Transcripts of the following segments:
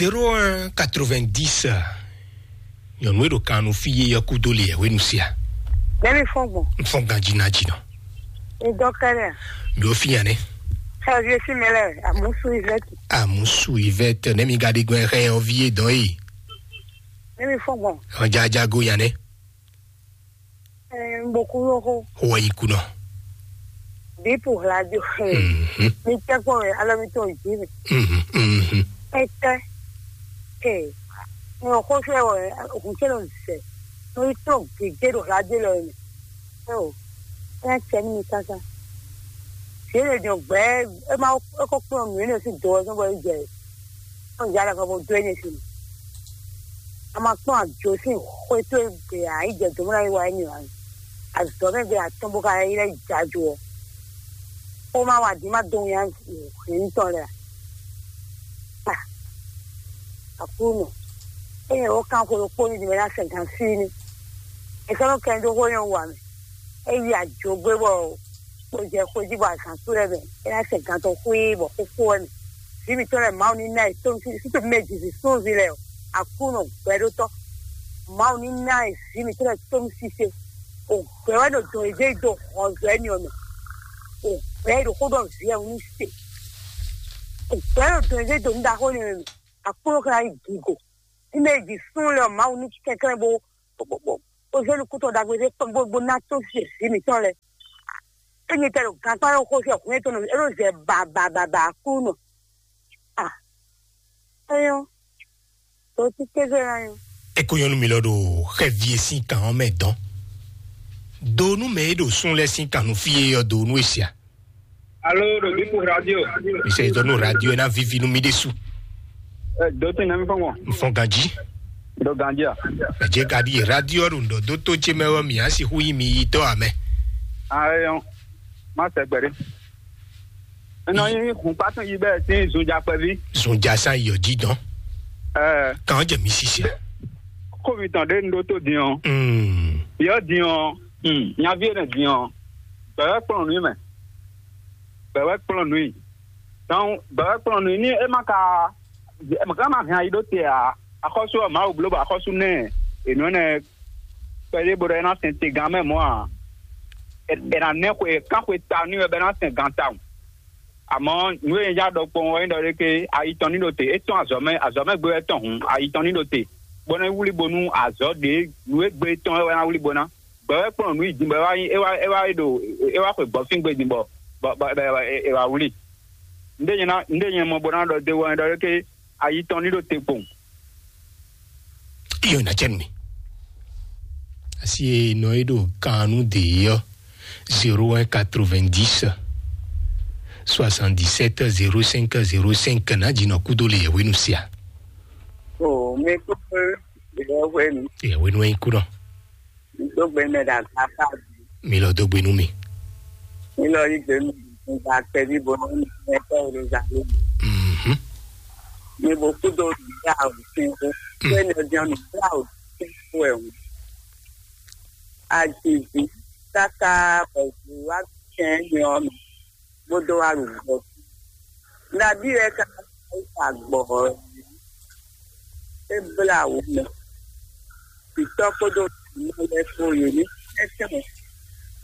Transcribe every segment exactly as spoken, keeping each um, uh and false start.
Zéro un quatre-vingt-dix. Nyɔnu e ɖo kan nú fí yé ɔ́ kúdó le yɛhwenu sia. Nɛmi fɔn gbɔn. N fɔn ganji ná jinɔ. N dɔ kɛnɛ. Mi o fi yan ne. Xɛ vie si mɛ lɛ amusu ivɛti. Amusu ivɛti ne mi ga ɖi gbɛn xɛ ɔvi e dɔn yi. Nɛmi fɔn gbɔn. Ɔn jajago yan ne. Ɛɛ, n bo kú lóxo. Xo wɛ yi kú nɔ. Bipu hladio. Mhm. Mi tɛ kpɔn wɛ alɔ mi tɔn jí mi. Mhm, mhm. Ɛtɛ. Ee. N xo fɛ wɛ hun tɛ nɔ zɛ. N yi tɔn gege ɖo hladio lɔ mi. Ɛɛ o. Ɛɛ tɛ mi kaka. Yě lè dɔn gbɛ. E ma e kɔ kplɔn nǔ énɛ́ sín do ɔ́ sɔ́ bɔ é jɛ. Kpɔn yàrá kan bó dó énɛ́ sín. A ma kpɔn àjò sín xwé tó gbe ǎ, yi jɛ dǒ mɔ ná yi wa énɛ́ ǎ. Azɔ̌ mɛ gbe atɔ́n bó ka yi lɛ́ jajo ɔ́. Xó ma wa dǐ ma dó nya hɛn tɔn lɛ a? Aklúnɔ, ényí wǒ kan xwe ɖokpó ní ɖi mɛ ná sɛ gan sí ní. È sɔ́ nɔ kɛ dó xó nyɔ́ wa mɛ. É yi ajǒgbé bɔ kpo jɛ xwé jí bɔ azǎn sú lɛ́ɛ mɛ. É ná sɛ gan tɔn xwé bɔ xóxó wɛ mɛ. Vǐ mǐtɔn lɛ́ɛ Mawu ní ná ɛ tómú sí sútú mɛ jǐ vǐ súnnuví lɛ́ɛ ɔ́, Aklúnɔ gbɛɖótɔ́. Mawu ní ná ɛ vǐ mǐtɔn lɛ́ɛ tómú sise. Ògbɛ wɛ ɖo dɔn yě dó hɔnzɔ́ ɛnì ɔ́ mɛ. Ògbɛ ɖo xó ɖɔ vǐ ɛ wú ní se. Ògbɛ ɖo dɔn yě dó nǔ ɖaxó nɛ mɛ. Aklúnɔ ka ná yi gigo. Ní mɛ jǐ súnnu lɛ́ɛ ɔ́, Mawu ní kɛnklɛ́n bó bó bó bó zé nukúntɔn ɖagbe ɖé kpɔ́n bó bó ná tó vǐ mǐtɔn lɛ́ɛ. Ényí tɛ ɖo gankpá ɔ́ xó fí ɔ́, hwlɛ́n tɔn nɔ é ɖo zɛ ba ba ba ba Aklúnɔ. A éyɔ́, to títí zé ná nyɔ. Eko nyɔnu mi lɔ ɖo xɛvi e sín kan ɔ́ mɛ dɔn. Do nú mɛ e ɖo sún lɛ́ɛ sín kan nú fí e ɔ́ do nú e sia. Alo ɖo Bipu radio. Mi sɛ dɔ nú radio e ná vivi nú mi ɖésú. Ɛ dɔtí nɛmi fɔn wọn. N fɔn ganji. Ɖo ganji a? Ɛ jɛ ka ɖi radio ɔ́ ɖo ŋdɔ dó tó ce mɛ ɔ́ mi á sixú yí mi yi tɔ amɛ. Ayɔ, má sɛ gbɛɖé. Enɔ nyi hun kpatún yi bɛ sín zunja kpɛví. Zunja san yɔ jí dɔn. Ɛ Kan jɛ mi sisi. Kómi tɔn ɖé nu ɖó tó din ɔ. Mm. Yɔ din ɔ. Mm. Nyaví enɛ din ɔ. Bɛwɛ kplɔn nú mɛ. Bɛwɛ kplɔn nú. Donc bɛwɛ kplɔn nú ní é má ka é má ka má hɛn ayi ɖó te a. Axɔ́sú ɔ Mawu bló bɔ axɔ́sú nɛ. Ènú ɛnɛ kpɛɖé bó ɖɔ é ná sɛn te gán mɛ mɔ̌ ǎ. È nǎ nɛ́ xwe kán xwe ta nú wɛ bɔ é ná sɛn gan tawun. Amɔ̌ nǔ e nyɛ já ɖɔ kpɔ́n ɔ́ é ɖɔ ɖé ké ayi tɔn ní ɖo te. É tɔ́n azɔ̌ mɛ, azɔ̌ mɛ gbé wɛ tɔn hǔn, ayi tɔn ní ɖo te. Bó ná wlí bónú azɔ̌ ɖě nǔ e gbé tɔn wɛ ná wlí bó ná. Gbɛ wɛ kplɔ́n nǔ yi din bɔ é wá nyí é wá é wá ɖo é wá xwe gbɔ̌fíngbe din bɔ bɔ bɔ bɔ è wá wlí. Nǔɖé nyɛ ná nǔɖé nyɛ mɔ bó ná ɖɔ dó wɛ é ɖɔ ɖé ké ayi tɔn ní ɖo te kpowun. Iyo na cɛn mi. Asi e nɔ e ɖo kan nú de ɔ́, zéro un quatre-vingt-dix soixante-dix-sept zéro cinq zéro cinq ná dzi nɔ kúdó le yɛhwenu sia. O mi kúkú yɛhwenu. Yɛhwenu e kú nɔ. Mi dó gbe mɛ ɖo agbafa. Mi lɔ dó gbe nú mi. Mi lɔ yí gbe nú mi gba kpɛví bo nɔ mi mɛ tɔ Yeruzalɛmu. Mhm. Mi bo kúdó nǔgbla òfin xó. Mm. Pé nɔ jɛn nǔgbla òfin xó ɛ hǔn. Azizi káká bɔ vǐ wá kɛn nyɔ mɛ bó dó wá ɖo gbɔ. Nabí wɛ ka sa gbɔ ɔ́? É blá wǔ mɛ. Vǐtɔ́ kpódó vǐnɔ lɛ́ɛ kpó yě ní tɛ́ntin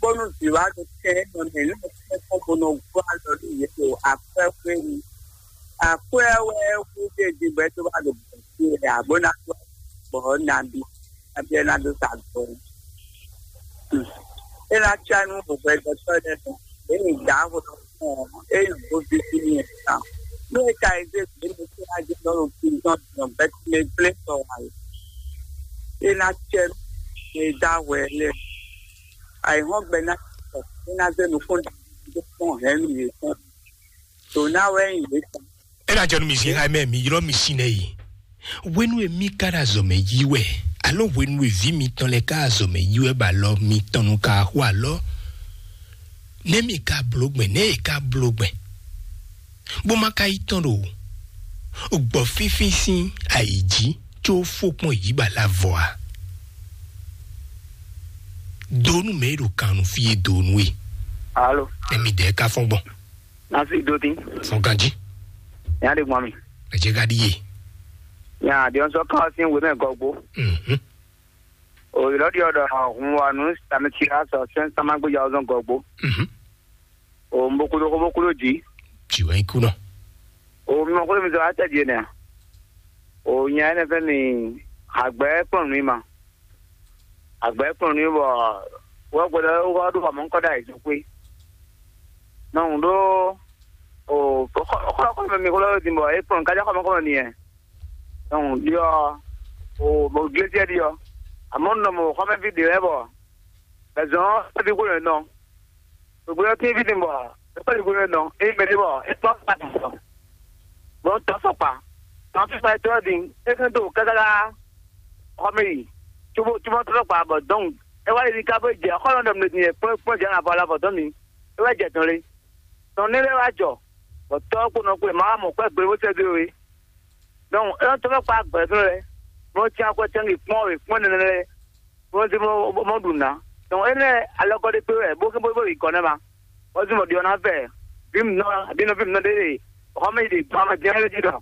bónú vǐ wá ɖo tɛn nɔ mɛ ní tɛ́ntin bó nɔ gbɔ alɔ nú yě ɖo akwɛ́ xwé nu. Akwɛ́ wɛ wú ɖé din bɔ é tó wá ɖo gbɔ̌ fí wɛ ǎ bó ná tó gbɔ̌ nabí nabí ɛ ná dó sa gbɔ̌. É ná cá nú hwɛɖɔtɔ́ lɛ́ɛ tɔn. Ě nyi dǎ hwɛɖɔtɔ́ ɔ́, é nyi hwoví sín nyi ɛ tán. Nú é ka yi zé gbě mɛ fí ná jɛ nɔ ɖo prison din ɔ́, bɛ́ mɛ gblé sɔ wǎ é. É ná cɛ nú mɛ e dó ahwɛ lɛ́ɛ. Ayǐhɔ́ngbe ná sɔ, é ná zé nukún ɖagbe dó kpɔ́n hɛ̌nnu yětɔn. Dǒ ná wɛ nyí yě tɔn. Ena jɔ nú mi zin xá mɛ mi ylɔ́ mi sin nɛ yi. Hwenu e mi ka ɖo azɔ̌ mɛ yi wɛ, alo hwenu e vǐ mitɔn lɛ́ɛ ka azɔ̌ mɛ yi wɛ bɔ alɔ mitɔn nu ka xo alɔ, nɛ́ mi ka bló gbɛn, nɛ́ e ka bló gbɛn, bó ma ka yi tɔn ɖo gbɔ̌ fínfín sín ayǐ jí có fó kpɔ́n yǐ ba lá vɔ a? Donu mɛ e ɖo kan nu fí e donu e. Alo. Nɛ mi dɛ ka fɔn gbɔn. Nasi do tin. Fɔn ganji. Nya de gbɔn mi. Ɛ jɛ ka ɖi ye. Nya ɖiɔnsɔ kan ɔ́ sín wěmɛ gɔgbo. Mhm. O ylɔ́ ɖiɔ ɖɔ hun wa nǔ tamɛtira sɔ sɛn samagbeja ɔ́ zɔn gɔgbo. Mhm. O mbokudo xo bokúdo jí. Jì wɛ nyí kú nɔ. O mi mɔ xó mi zɔ atɛ jí nɛ. O nya ɛnɛ fɛ mi agbɛ kplɔn nǔ ma. Agbɛ kplɔn nǔ bɔ wɔ gbɛdɔ wɔ ɖo xɔ mɔ kɔ da yi zɔn kpé. Nɔ un ɖó o xɔ xɔ mi xɔ lɔ din bɔ e kplɔn kájá xɔ mɔ kɔ mi yɛ. Donc ɖiɔ o mo glésiɛ ɖiɔ. Àmọ́ nɔ mo xɔmɛví ɖe lɛ́ɛ bɔ bɛzɔn ɔ́ vi xó nɔ. Gbogbo ɔ́ tín ví din bɔ é kpɛ́ ɖi nɔ é mɛ ɖé bɔ é kpɔ́ fún atɔn. Bɔn tɔ́ sɔkpa tɔ́ fífa é tɔ́ din é kɛn dó kákáká xɔmɛ yi cóbó cóbó tɔ́ sɔkpa bɔ dɔn é wá yi ní ká bó jɛ xɔlɔ nɔ mɛ din é kpɔ́ kpɔ́ jɛ na bɔ la bɔ dɔn mi é wá jɛ dɔn lé. Tɔn ní lɛ́ wá jɔ bɔ tɔ́ kpó nɔ kpé ma wá mɔ kpɛ́ gbe bó sɛ́ dó é. Donc é tɔ́ sɔkpa gbɛ̌ fún lɛ bó tián kɔ tián kpɔ́n é kpɔ́n nɛnɛ lɛ. Bó zé bó bó ɖu nǔ ná. Dɔn énɛ́ alɔkɔ ɖé kpé wɛ bó bó bó yi gɔ̌ nɛ́ ma. Bó zé mɔ ɖiɔ ná vɛ vǐ mǐtɔn abǐ nɔví mǐtɔn ɖé ɖe xɔmɛ yi ɖe gbɔn amadzɛn lɛ́ɛ jí ɖɔ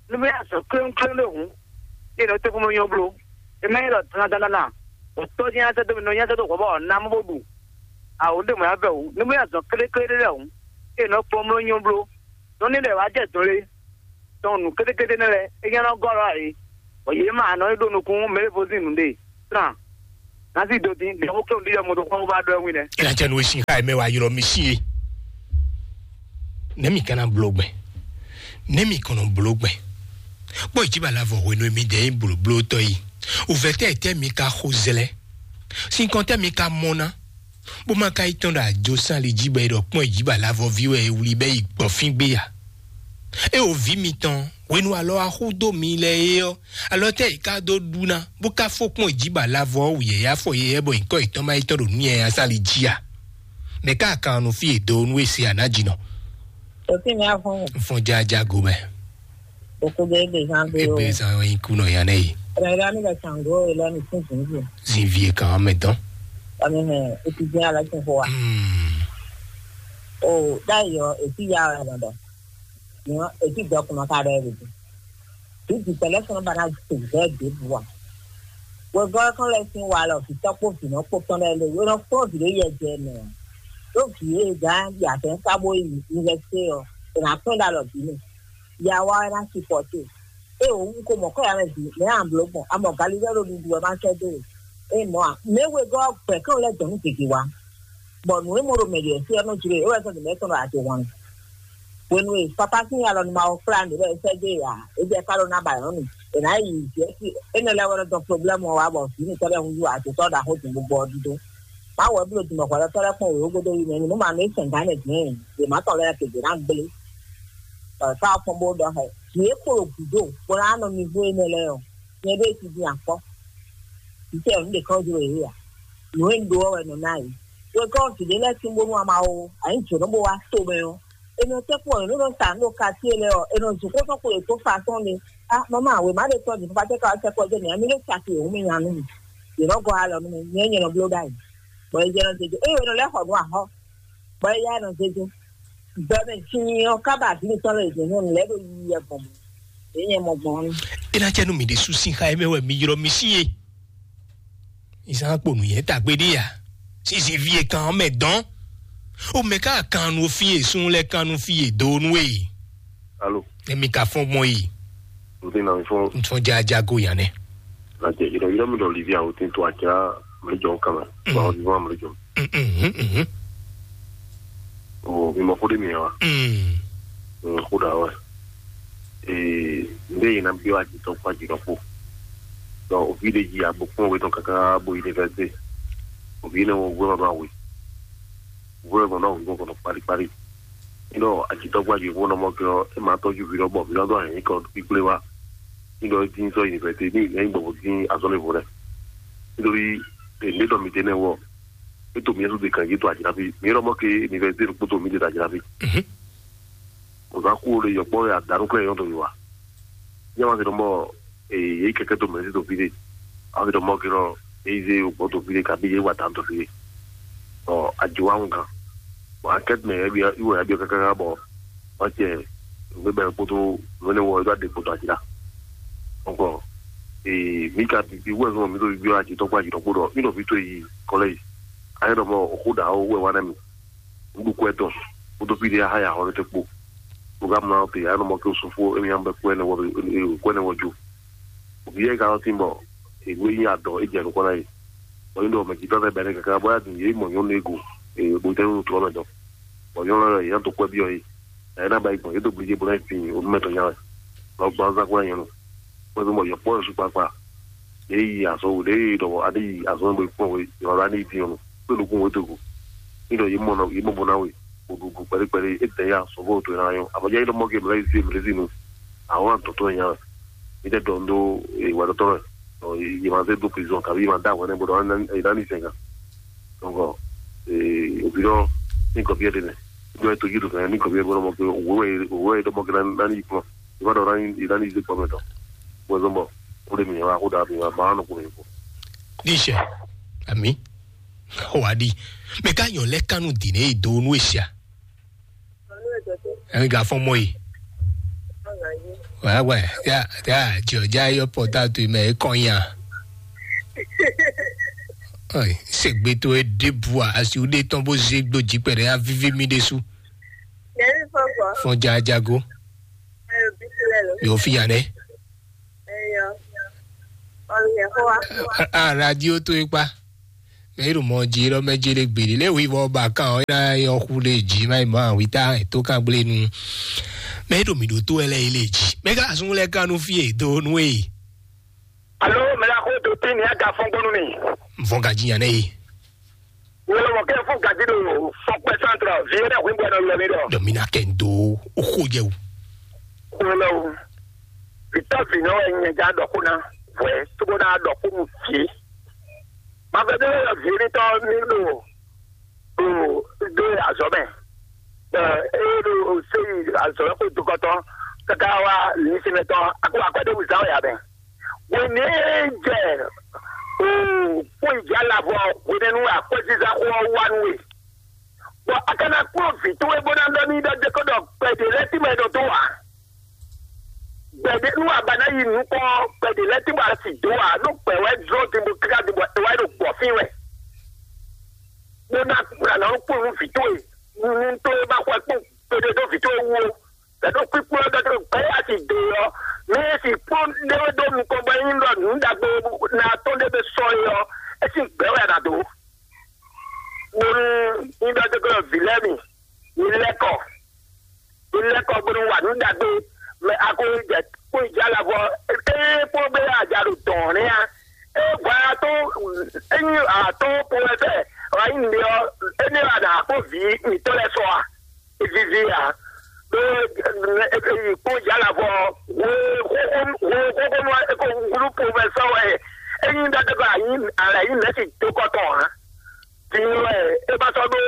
nú mì azɔ̌ kléwúnkléwún ɖé hǔn, é nɔ tɛ́nkpɔ́n mɔ nyɔ́ bló. É má nyí ɖɔ dandandandan, bɔ tɔ́ nyí asɛ́ dó mì nɔ nyí asɛ́ dó hwɛ bɔ ná mɔ bó ɖu. Awǒ ɖé mɔ̌ yá vɛ hǔn, nú mì azɔ̌ kléklé ɖé lɛ́ɛ hǔn, é nɔ kpɔ́n mló nyɔ́ bló. Nú ní ɖɛ wǎ jɛ dɔn lé, tɔn nǔ kétékété nɛ́ lɛ́ɛ é nya nɔ gɔ́ lɔ ǎ é. Bɔ yě mɛ anɔ e ɖo nukún mɛ e vo sín nǔɖé tran ná sí do dín ɖě xó kéwú ɖiɖɔ moto kpɔ́n bó bá ɖɔ ɛ wín nɛ́. Ela cɛ nu esi xa mɛ wa ylɔ mi si ye. Ne mi kana blo gbɛ. Ne mi kɔnɔ blo gbɛ. Kpɔ ìjìbá la vɔ hwenu mi dɛ yi blo blo tɔ yi. Uvɛ tɛ tɛ mi ka xo zɛlɛ. Sinkɔn tɛ mi ka mɔ ná. Bó má ka yi tɔn ɖo ajo sán li jí bɔ é ɖɔ kpɔ́n ìjìbá la vɔ ví wɛ é wlí bɛ yi gbɔ fín gbé ya. É o vǐ mitɔn hwenu alɔ axú dó mi lɛ é ɔ́, alɔ tɛ yi ka dó ɖu ná bó ka fó kpɔn ìjìbá la vɔ ɔ́ wuyɛ ya fɔ yɛ bɔ nyǐkɔ yětɔn má yi tɔn ɖo nú yɛ ya sán li jí a? Mɛ ká kan nɔ fí e do nú e se a nǎ jǐ nɔ. Òfin mi á fún un. Fún jájá go mɛ. Òkú bẹ́ẹ̀ bẹ́ẹ̀ zán gbé o. Ebe zan yin kú nɔ yan nɛ yi. Rẹ̀rẹ̀ mi lọ sàngó ìlọ ní fún zùnzùn. Zin vie kan mɛ dɔn. Ọmọ hẹn etí jẹ́ aláṣẹ fún wa. Hmm. O dáyọ̀ etí ya ọ̀rẹ́ lọ́dọ̀. Ìyẹn etí gbọ́ kùnà ká rẹ̀ rè. Títí pẹ̀lẹ́ fún bá náà tó bẹ́ẹ̀ dé bu wa. Wegɔ́ kan lɛ sín wa lɔ vǐtɔ́ kpó vǐnɔ kpó tɔn lɛ lé wénɔ kpó vǐ ɖé yɛ jɛ mɛ. Ɖó vǐ e gán yi atɛn ká bó yi yunivɛsité ɔ́, è nǎ kpɛ́n ɖó alɔ vǐ mɛ. Ya wá wɛ ná sipɔ́té. É wǒ wú ko mɔ̌ kɔ ya mɛ vǐ mɛ ǎ bló gbɔn, a mɔ galilɛ́ ɖo ɖuɖu wɛ má sɛ́ dó we. É mɔ̌ ǎ, mɛ wegɔ́ gbɛ̌ kán lɛ́ dɔn nú gěgé wá. Bɔ nǔ e mɔ ɖo mɛ ɖě fí ɔ́ nɔ jló e, é wɛ sɔ́ dǐndɛ́ tɔn ɖo ajě hwan. Hwenu e papa sín alɔ nú Mawu kplá nǔ bɔ é sɛ́ dó e ǎ, é jɛ ká ɖó ná ba nyɔ̌nu. È nǎ yi jɛ sí énɛ́ lɛ́ɛ wɛ nɔ dɔn problɛ́mu ɔ́ wá bɔ vǐ mǐtɔn lɛ́ɛ húzú ajotɔ́ ɖaxó din bó gbɔ ɔ́ dídó. Má wɛ bló dǐn bɔ hwɛɖɔtɔ́ lɛ́ɛ kpɔ́n wěwé gúdo yi mɛ nú mǎ nú é sɛn gǎn nɛ dǐn yě má tɔn lɛ́ɛ kegbe ná gblé. Bɔ sá ɔ́ kpɔ́n bó ɖɔ xɛ. Vǐ e kpo ɖo gǔdo bó ná nɔ mi gbó énɛ́ lɛ́ɛ ɔ́, nyɛ ɖé ti din akpɔ́. Vǐ tɛ nǔ ɖě kɔn jló yě ǎ. Nǔ e un ɖó ɔ́ wɛ nɔ ná yě. Wegɔ́ vǐ ɖé lɛ́ɛ sín bónú ama ó, a nyǐ jǒnɔ bó wá to mɛ ɔ́, è nɔ tɛ́ kpɔ́n è nǔ nɔ sa nǔ ɖo katíe lɛ́ɛ ɔ́, è nɔ zun xó tɔn xwe yě dó fasɔ́n ɖé. Á mama, wěma ɖé tɔ́ din fífá tɛ́ ka wá sɛkpɔ́ jɛ mǐ, a mi lé sa fi wěwún mì nya nú mì. Yě nɔ gɔ́ alɔ nú mì, nyɛ nyɛ nɔ bló ɖ'ayǐ. Bɔ è jɛ nɔ zé jó. Ée è nɔ lɛ́ xɔ nǔ axɔ́, bɔ é yá nɔ zé jó. Gbɛmɛ sin ɔ́ ká ba vǐ mǐtɔn lɛ́ɛ yě nyɔ́nu lɛ́ɛ ɖo yiyi wɛ gbɔn mɔ̌. Yě nyɛ mɔ gbɔn ɔ́. É ná cɛ nú mǐ ɖésú sín xá e mɛ wɛ mi ylɔ́ mì sí e. Ìsán kpo nǔnyɛ tagbe ɖé ya. Sisi vi e kan ɔ́ mɛ dɔn. O mɛ ká kan nu fi e sun lɛ kan nu fi e do nu e. Alo. Emi ka fɔn gbɔn yi. N ti na mi fɔn. N fɔn jaja go yan nɛ. Na jɛ yɔrɔ yɔrɔ mi dɔ livi awo tin to aja mi jɔ kama. Mm. Wa o ni wa mi jɔ. Mm, mm, mm, mm. O mi mɔ ko de mi wa. Mm. Mm, ko da wa. Ee, n bɛ yina bi wa jitɔ kpa jitɔ ko. Donc o vi de ji agbo kpɔn wetɔ kaka bo université. O vi ne wo wɛ ma ba we. Wɛ ma na wo kɔnɔ kpali kpali. Nɔ ajitɔ kpa ji ko nɔ mɔ ke ɔ, e ma tɔju vi dɔ bɔ vi dɔ dɔ hɛn kɔ kpikple wa. Nɔ e din sɔ université ni e gbɔ bo din azɔn le vo lɛ. Nítorí èmi dɔ mi dé nɛ wɔ. E to mi yɛn su de kan yi to ajirafi. Mi yɔrɔ mɔ ke université kpoto mi de ajirafi. Mhm. Ozan kúrò lè yɔkpɔ ya dànù kúrò yɔn tó mi wa. Nyɛ ma fi dɔn bɔ ee yé kɛkɛ tó mɛ sí tó fi de. A fi dɔn bɔ kí nɔ èyí zé o gbɔ tó fi de kabi yé wa dàn tó fi de. Ɔ ajo wa ń gan. Bɔn akɛtɛ mɛ yɛ bi iwɔ yɛ bi kaka bɔ ɔtsɛ ngbé bɛ kpoto ngbé ne wɔ yɛ tó a de kpoto ati la. Ɔkɔ, ee, mi ka bibi wɛ zɔn mi ɖo bibi ati tɔgba yi ɖɔkpo ɖɔ mi ɖɔ vi to yi kɔlɛ yi. Ayɛ ɖɔ mɔ oxo ɖa wo wɛ wa nɛ mi. Ŋɖu kɔ ɛtɔn. Kótó fi ɖe aha ya xɔ ɖe te kpo. Mo ka mla te ayɛ ɖɔ mɔ ke sufo emi am bɛ kɔ ɛnɛ wɔ kɔ ɛnɛ wɔ jo. Obi yɛ ka lɔ tin bɔ enu e nyi adɔ e jɛ nukɔ na yi. Bɔ yi ɖɔ mɛ jitɔ lɛ bɛ ne kaka bɔ ya dun ye mɔ nyɔnu ego. Ee, bo tɛ nu trɔ mɛ dɔ. Bɔ nyɔnu lɛ yɛ to kɔ bi ɔ yi. Ɛyɛ ná ba yi gbɔn yě dó gblíjé bó ná yi fin olúmɛtɔn nya wɛ. Lɔ gbɔn azán kó ná nyɛ nu. Kó ɛ fi mɔ yɔkpɔ yɔ sukpakpa. Ɖě yi azɔn wo ɖě yi ɖɔ adé yi azɔn bó kpɔn we yɔ la ní yi dín ɔnu. Kó lukún wo dógo. Ní ɖɔ yě mɔ nɔ yě mɔ bó ná we. Bó ɖu bó kpɛɖé kpɛɖé é tɛ ya sɔvɔ to ná yɔ. Abɔjá yi ɖɔ mɔ ke mlɛ yi zé mlɛ zi nu. Àwọn àtɔ̀tọ̀ nya wɛ. Ní tɛ dɔn dó ìwà tɔtɔ rẹ. Yě ma zé dó prison tàbí yě ma dá àwọn ẹni bó dɔn yě ná ní sɛgàn. Donc, òbí dɔn ní kɔ̀bí ẹ̀ dé nɛ. Dɔn ẹ̀ tó yí dùn fẹ́ ní kɔ̀bí ẹ̀ bó dɔn mɔ pé òwò ẹ̀ dɔn mɔ kí ná ní yí kúrò. Ìbá dɔn ná ní yí kúrò mẹ́tọ̀. Wọ́n zɔn bọ̀ ó lè mìíràn wá kó dàbí wá bá wọn kúrò yìí kú. Ní ìṣe àmì wà á di mẹ ká yàn lẹ́kánu dì ní èdò onú èsì à. Ẹ̀rín gà fọ́n mọ́ yìí. Wà á wà á yà yà jì ọ̀já yọ pọ̀ tá a tó ìmọ̀ ẹ̀ kọ́ yàn. Ṣègbè tó ẹ débù à àsìwò dé tán bó zé gbòjì pẹ̀lú yà víví mi dé sú. Fọ́n jajago. Yóò fi yàn dẹ́. A radio tó ipa. Mɛ yi ɖo mɔ dzi ɖɔ mɛ dzi ɖe gbeɖe lé wi vɔ ba kan ɔ ina yɔ xu ɖe dzi ma yi ma wi ta to kan gble nu. Mɛ yi ɖo mi ɖo to ɛ lɛ yi le dzi. Mɛ ka sun lɛ kan nu fi e do nu e. Alo mɛ la ko do tin ni aga fɔn gbɔnu mi. Vɔn ka dzi nya ne yi. Wolo mɔ kɛ fún gadi ɖo fɔkpɛ santrɔ vi yɛ dɛ hwin bɔ nɔ lɔ mi dɔ. Dɔ mi na kɛ n do o xo jɛ o. Wolo vitɔ vi nɔ wɛ nyɛ ja dɔ ko na vɔɛ togo na dɔ ko mu fi. Ma vɛ de yɔ vi mi tɔ mi ɖo ɖo ɖo azɔ mɛ. Ɛ eye ɖo seyi azɔ mɛ ko dokɔtɔ kaka wa lisimɛtɔ ako akɔde wuzan ya mɛ. Wɛnɛ jɛ o kpɔn ìjà labɔ wɛnɛ nu akɔziza xɔ wa nu we. Bɔn a kana kplɔn vi towe bó ná ɖɔ ní ɖɔ dé kó ɖɔ gbɛdé lɛ tí mɛ ɖɔ tó wa. Gbɛdé nú a ba ná yi nukɔn gbɛdé lɛ tí mɛ a sì dó wa nú gbɛ wɛ zɔ ti bo kíkà ti bɔ e wa yi ɖo gbɔ fín wɛ. Bó ná kplɔn àná kplɔn nú vi towe nú towe bá xɔ kpɔn gbɛdé dó vi towe wú o. Lɛ̌ ɖo kpíkpó ɔ́ dɔ́ gbɛ́ asi do ɔ́, mɛ e si kpɔ́n ɖé wɛ dó nukɔn bɔ é nyí ɖɔ nǔ ɖagbe ná tɔn ɖé bɛ sɔ é ɔ́, é sín gbɛ̌ wɛ a nǎ dó. Bónú nyí ɖɔ dó glɔ́ vǐ lɛ́ɛ mi, mi lɛ́ kɔ, mi lɛ́ kɔ bónú wa nǔ ɖagbe, mɛ a ko jɛ kpó yi jɛ alɔ vɔ, ée kpó gbé aja ɖo dɔ̌n nɛ́ ǎ. É vɔ a tó é nyí atɔ́ po wɛ fɛ, wǎ nyí nǔɖé ɔ́, énɛ́ wɛ a nǎ kpó vǐ mǐtɔn lɛ́ɛ sɔ a? Vivi ǎ. Ɖó kpɔ́n jǎ la vɔ hwe xóxónú eko gúdú po mɛ sɔ́ wɛ é nyí ɖɔtɔ́ alɛ nyí mɛ̌si dó kɔtɔn ǎ. Din wɛ é ma sɔ́ ɖó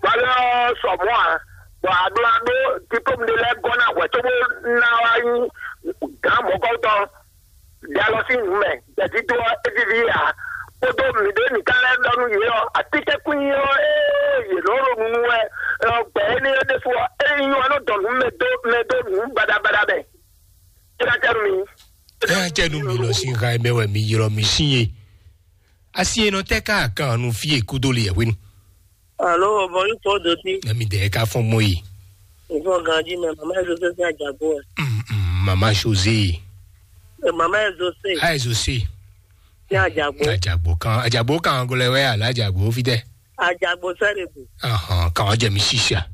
valeur sɔ mɔ̌ ǎ. Bɔ aɖó aɖó diplôme ɖé lɛ́ɛ gɔ́ ná hwɛ̌ cóbó ná wá nyí gǎn mɔ̌kɔ́tɔn. Ɖe alɔ sín nǔ mɛ, gbɛ̌dídó ɔ́, é víví ǎ. Kpódó mǐɖée mǐ ka lɛ́ ɖɔ nú yě ɔ́, atínkɛ́nkwín ɔ́, ée yě nɔ ɖo nunu wɛ, ɔ, gbɛ̌ énɛ́ ɔ́ ɖésú ɔ́, é nyí ɔ́ nɔ dɔn nǔ mɛ dó mɛ dó nǔ baɖabaɖa mɛ. É ná tɛ́ nú mi. É ná tɛ́ nú mi lɔ sín ha e mɛ wɛ mi ylɔ́ mi sín e. Asi e nɔ tɛ́ ká kan nu fí e kúdó le yɛ hwenu. Alo, bɔ yóò tɔ dɔ sí. Ɛmi dɛ ka fɔn mɔ yi. Ìfọ̀n ganjí mɛ, màmá ẹ̀ José sí àjàgbó ẹ̀. Mm, mm, mama José. Ẹ, màmá ẹ̀ José Ayi José. Sí àjàgbó. Ajagbo kan, ajagbo kan gɔlɛ wɛ ala ajagbo fi tɛ. Àjàgbó sẹ́rẹ̀ bù. Ahan, kan jẹ mi sisa.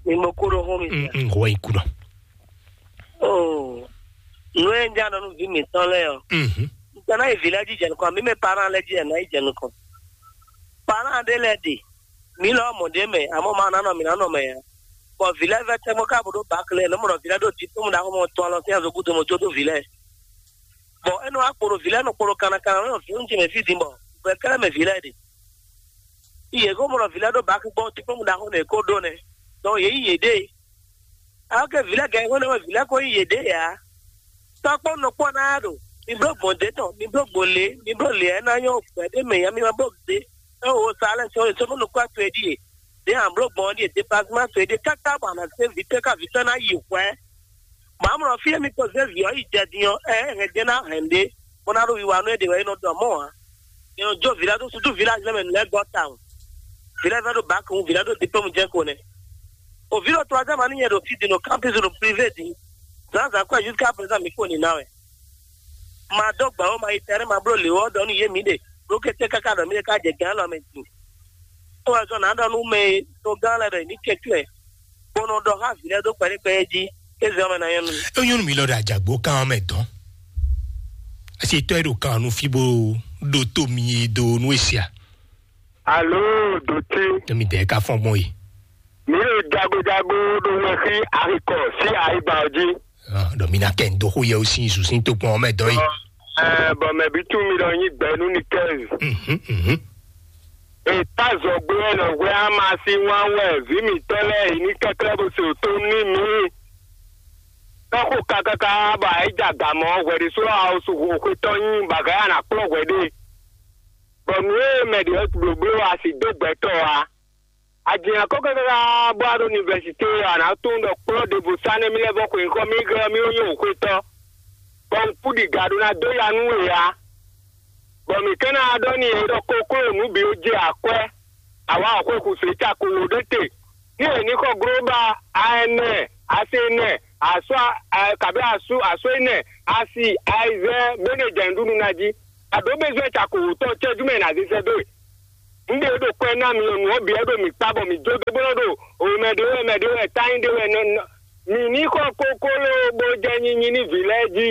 Ni mo kúrò hún mi. Mm, mm, wɔ ikú náà. Oh, nú ẹ̀ ń já nínú bí mi tán lẹ́yọ̀. Mhm. Nígbà náà ìfì lẹ́jì jẹ̀ nìkan, àmì mi para lẹ́jì ẹ̀ náà ìjẹ̀ nìkan. Para dé lẹ́ dè. Mǐ lɔ mɔ̌ ɖé mɛ, amɔ́ ma ná nɔ mǐ ná nɔ mɛ ǎ. Bɔ vǐ lɛ́ɛ vɛ́ tɛ́ mɔ ká bó ɖó bǎkle, nɔ́ mɔ ɖɔ vǐ lɛ́ɛ ɖo diplôme ɖaxó mɔ tɔn alɔ sín azogudo mɔ jó dó vǐ lɛ́ɛ. Bɔ é nɔ wá kpo ɖo vǐ lɛ́ɛ nɔ kpo ɖo kannakanna nɔ vǐ ce mɛ fí din bɔ gbɛ kɛ́lɛ́ mɛ vǐ lɛ́ɛ ɖe. Yě ko mɔ ɖɔ vǐ lɛ́ɛ ɖó bǎkle gbɔn diplôme ɖaxó nɛ kó ɖó nɛ́. Donc yě yí yěɖée. Alɔ ke vǐ lɛ́ɛ gɛ́ xó nɛ́ mɛ vǐ lɛ́ɛ ko yí yěɖée ǎ. Tɔ́kpɔ́ nɔ kpɔ́ ná ɖo, mi bló gbɔn dě tɔn, mi bló gbɔn lě, mi bló lě ɛ ná nyɔ́ gbɛ̌ ɖé mɛ nya mi ma bló dě. É wo sa lɛ́ɛ sɔ́ sɔ́ nɔ kó to e ɖíe. Dě an bló gbɔn ɖíe, déplacement to e ɖíe káká bɔ a nǎ se vǐtɛ́ ká vǐtɛ́ ná yi hwɛ̌. Bɔ amlɔ fí e mi ko zé vǐ ɔ́ yi jɛ din ɔ́, ɛ hɛn jɛ ná hɛn ɖé, bó ná ɖo wiwa nú é ɖe wɛ é nɔ ɖɔ mɔ̌ ǎ. È nɔ jó vǐ lɛ́ɛ dó susu vǐ lɛ́ɛ lɛ́ɛ mɛ nǔ lɛ́ɛ gɔ́ tawun. Vǐ lɛ́ɛ vɛ́ ɖo bǎk wú, vǐ lɛ́ɛ ɖo diplôme jɛ́n ko nɛ́. O vǐ ɖo troisième année nyɛ ɖo fí din ɖo campus ɖo privé din. Zǎnzǎn kwɛ jusqu'à présent mi kpo nǐ ná wɛ. Ma dó gbɛ̌ ó, ma yi tɛ́nɛ́, ma bló lě ɔ́ ɖɔ nú yě mǐ ɖe, ɖó kété káká ɖɔ mǐ ɖe ká jɛ gǎn lɔ mɛ din. É wɛ zɔn nǎ ɖɔ nú mɛ e togán lɛ́ɛ ɖɔ yě ní kɛ cyɔ ɛ, bó nɔ ɖɔ xá vǐ lɛ́ɛ dó kpɛɖékpɛɖé jí, é zɛ ɔ́ mɛ ná nyɔ́ nú mì. É nyɔ́ nú mì lɔ ɖo ajǎgbó kan ɔ́ mɛ dɔn. Asi tɔ́ e ɖo kan ɔ́ nú fí bó ɖótó mi e dó nú e sia. Alo, dotí. Tɔ́ mi dɛ ka fɔn gbɔn yi. Mi ɖo jagojago ɖo wɛ xí axikɔ sí ayiba ɔ́ jí. Ɖɔ mi ná kɛ ndo xó yɛ ó sín zu sín tó kpɔn ɔ́ mɛ dɔn yi. Ɛ, bɔ mɛ bí tún mi ɖɔ nyi gbɛ nú ni kɛz. Mhm, mhm. Ètá zɔgbé wɛ nɔ hwɛ ama sín wán wɛ vǐ mǐtɔn lɛ́ɛ yě ní kɛklɛ́ bó se òtó ní mǐ. Tɔ́xo kakaka bɔ ayǐ ja gamɔ hwɛ ɖésú awusu xwetɔ́ nyí bɔ agǎ ya ná kplɔ́n hwɛ ɖe. Bɔ nǔ e mɛ ɖě ɔ́ blǒbló a sì dó gbɛtɔ́ ǎ. A jǐ nya kɔ́ káká bó wá ɖo univɛsité ɔ́, a nǎ tunwun ɖɔ kplɔ́ ɖěvo sá nɛ́ mì lɛ́ vɔ́ xwe nyǐkɔ mì gɔ́ mì nyí wěxotɔ́, bɔ un kú ɖi ga ɖó ná dó ya nú we ǎ. Bɔ mǐ ka ná ɖɔ n'i ɖɔ kokló nǔ bǐ ó jɛ akwɛ́, awǎ ɔ́ xwe xu sě cako wǒ ɖé te. Ní è ní xɔ glóbá, a ɛnɛ, a se ɛnɛ, a sɔ́, a kabí a sú, a sɔ́ ɛnɛ, a si, a yi zɛ, bó nɛ jɛ nǔɖuɖu ná jí. A ɖǒ bezwɛ́ cako wǒtɔn cɛ́jú mɛ è nǎ zé sɛ́ dó we. Un ɖe ɖo kwɛ ná mi ɔ́, nǔ ɔ́ bǐ wɛ ɖo mǐ kpa bɔ mǐ jó dó bó nɔ́ ɖo wěmɛ ɖé wɛ, mɛ ɖé wɛ, tányi ɖé wɛ, nɔ, nɔ, mǐ ní xɔ kokló bó jɛ nyinyi ní vǐ lɛ́ɛ jí,